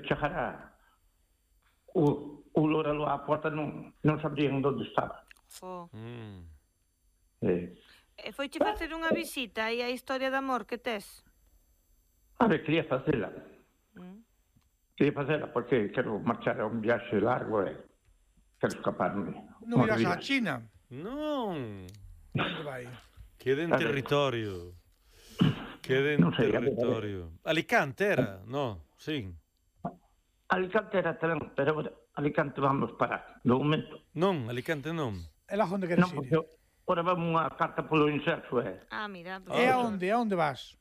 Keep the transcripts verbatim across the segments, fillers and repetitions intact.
chegara o, o Lóralo á porta non, non sabrían onde estaba. Fo. Mm. Eh, E foiche facer unha visita aí á historia de amor que tes? a ver, quería facela. Mm. Quería facela porque quero marchar a un viaxe largo e quero escaparme. Non irás días. á China. Non. Onde vai? Quede en A ver. territorio. Quede en Non sei, a ver, a ver. territorio. Alicante era? No, sí. Alicante era tamén, pero Alicante vamos parar. Do momento. Non, Alicante non. E lá onde queres Non, ir? porque ora vamos unha carta polo inserso e... Ah, mira. Pues, E aonde? A onde vas?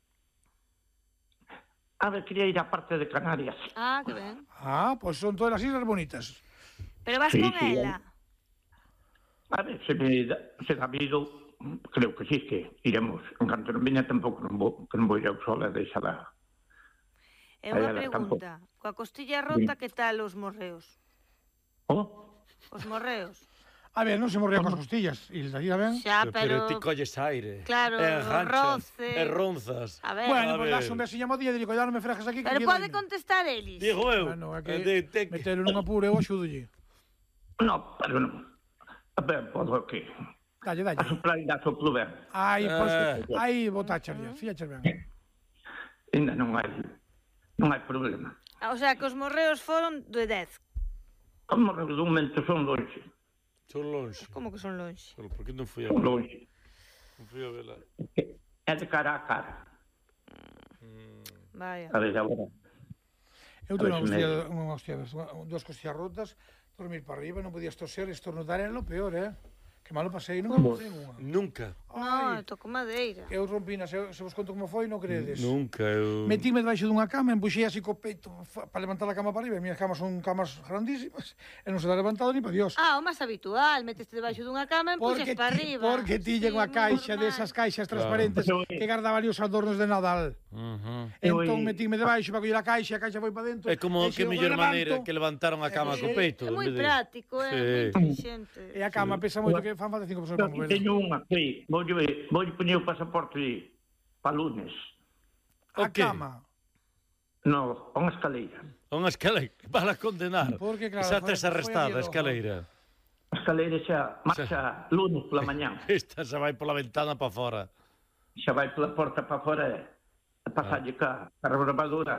A ver, quería ir á parte de Canarias. Ah, que ben. Ah, pois son todas as islas bonitas. Pero vas Sí, con sí, ela? A ver, se me da, se dá vido, creo que sí, que iremos. En canto non viña tampouco non vou, que non vou ir ao sol e deixala. É Aí unha ela pregunta. Coa costilla rota, que tal os morreos? Oh, Os morreos? A ver, non se morría coas costillas. Hilda, ira ben? Xa, Pero pero... ti colles aire. Claro, e enganchas, roce. e ronzas. A ver, Bueno, A pois ver. das un besiño mo día e digo, ya non me frejes aquí que pero aquí pode doime. contestar eles. Digo eu. Bueno, é que de, de, metelo nun apuro eu axúdolle. no, pero non. A ver, podo que... Dalle, A dalle. soplar ainda soplo ben. Aí, pois, Ah. aí botacharlle, fíaches ben. Ainda non hai... Non hai problema. Ah, o sea, que os morreos foron de dez. Como do momento son longe. Son longe. Como que son longe? Pero por que non fui a Son vela? longe. Non fui a vela. É de cara a cara. Vaya. A ver, agora... Eu A tuve ver unha se hostia, me- unha hostia, unha- dúas costillas rotas, dormir para arriba, non podías toser, estornudar era lo peor, eh? Que malo pasei, non me pasei unha. Nunca. No, Ai, toco madeira. que eu rompina, se, se vos conto como foi, non credes. Nunca eu... Metíme debaixo dunha cama, empuxei así co peito para levantar a cama para arriba, e minhas camas son camas grandísimas, e non se dá levantado ni para Dios. Ah, o máis habitual, meteste debaixo dunha cama e Porque, empuxes para ti, arriba. porque tiñen unha moi caixa normal. desas caixas Claro. transparentes Pero, que guardaba ali os adornos de Nadal. Uh-huh. Eu Entón aí- metíme debaixo para coller a caixa, a caixa foi para dentro. É como e que se eu mellor levanto, maneira que levantaron a cama co peito. É en moi vez de- práctico, é Sí. moi inteligente. E a cama pesa moito, que fan falta cinco persoas Eu para aquí mover. teño unha, sí. Vou vou poñer o pasaporte para lunes. A O qué? cama. No, a unha escaleira. Unha escaleira para condenar. Porque, claro, Xa foi- tes foi arrestada a a escaleira. A escaleira xa marcha lunes pola mañán. Esta se vai pola ventana para fora. Xa vai pola porta para fora e a pasarlle ca, ca rebarbadora.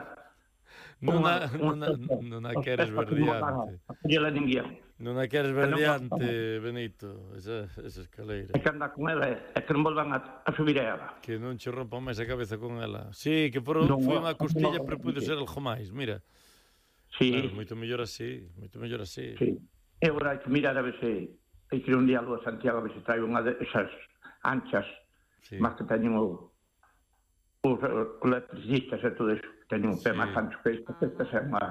Non a, Unha- non a, unha- non a os queres pés para que non van verdiante. A collela ninguén. Non a queres non verdiante, Benito, esa, esa escaleira. E que anda con ela e que non volvan a, a subir a ela. Que non che rompa máis a cabeza con ela. Sí, que por, Non, foi non, unha costilla, non, pero puido non. ser algo máis. Mira, Sí, claro, moito mellor así, moito mellor así. sí. E agora hai que mirar a ver se hai que ir un día a Santiago a ver se trae unha desas anchas, Sí. máis que teñen o os electricistas e todo eso, que teñen un pé Sí. máis ancho que esta, esta é unha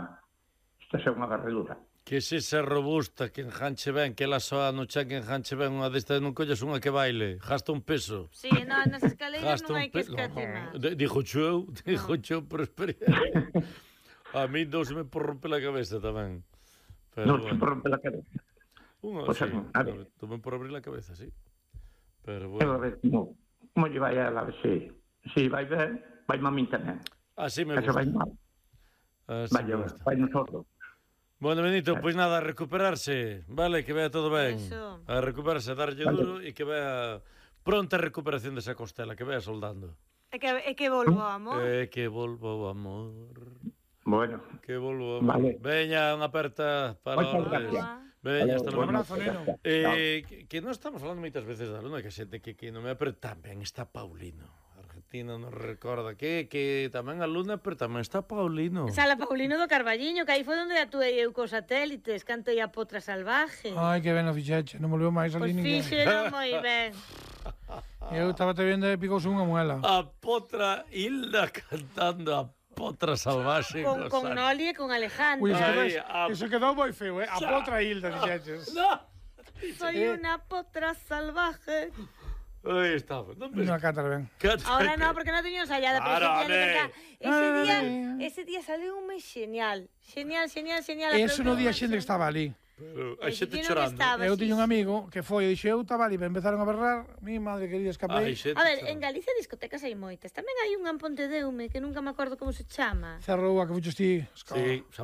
esta é unha barredura. Que se esa robusta, que enganche ben, que ela soa no chan que enganche ben unha destas, non colles unha que baile, gasta un peso. Sí, no, nas escaleiras Gasta non un hai que peso. escatimar. No, dixo eu, dixo eu por experiencia. A mí non se me por romper a cabeza tamén. Pero Non se bueno. por romper a cabeza. Unha, O sea, sí, a ver. tamén por abrir a cabeza, sí. Pero E a bueno. ver como, como lle vai a ela, a ver se, se vai ben, vai mamin tamén. Así me E se vai gusta. mal, Así vai, me gusta. vai nosotros. Bueno, Benito, pois nada, a recuperarse, vale, que vea todo ben. Eso. A recuperarse, a darlle Vale. duro e que vea pronta recuperación desa costela, que vea soldando. É que, é que volvo, amor. Eh, que volvo, amor. Bueno, Que volvo, amor. Vale. Veña, unha aperta para Moitas os... gracias. Veña, hasta Un logo. abrazo, neno. Eh, que, que non estamos falando moitas veces da luna, que a xente que, que non me pero tamén está Paulino. Argentina nos recorda que que tamén a luna, pero tamén está Paulino. Sala Paulino do Carballiño, que aí foi onde atuei eu cos satélites, cantei a Potra Salvaje. Ai, que ben o fixeche, non volveu máis ali Pois ninguén. fixeron moi ben. Eu estaba te vendo e picouse unha muela. A Potra Hilda cantando a Potra Salvaxe. Con, no con saco. Noli e con Alejandro. Ui, eso, Ai, ves, a- eso quedou moi feo, eh? A potra Hilda, fixeches. No. Soy una potra salvaje. Aí estaba. Non me... Non a cantar ben. Canta- Ahora no, porque non teño ensayada, pero Claro, ese día, de home. verdad, ese día, Ai. ese día saliu un mes genial. Genial, genial, genial. Eso no aplaudiu día máis xente que estaba ali. Pero Eh, hai xente ti non chorando. estaba. Eu sí, tiño un sí. amigo que foi e dixo, eu estaba ali, pero empezaron a berrar, mi madre querida, escapei. Ai, xente A ver, chorando. en Galicia discotecas hai moitas. Tamén hai unha en Pontedeume que nunca me acordo como se chama. Cerrou a que fuches ti. Sí, xa marcha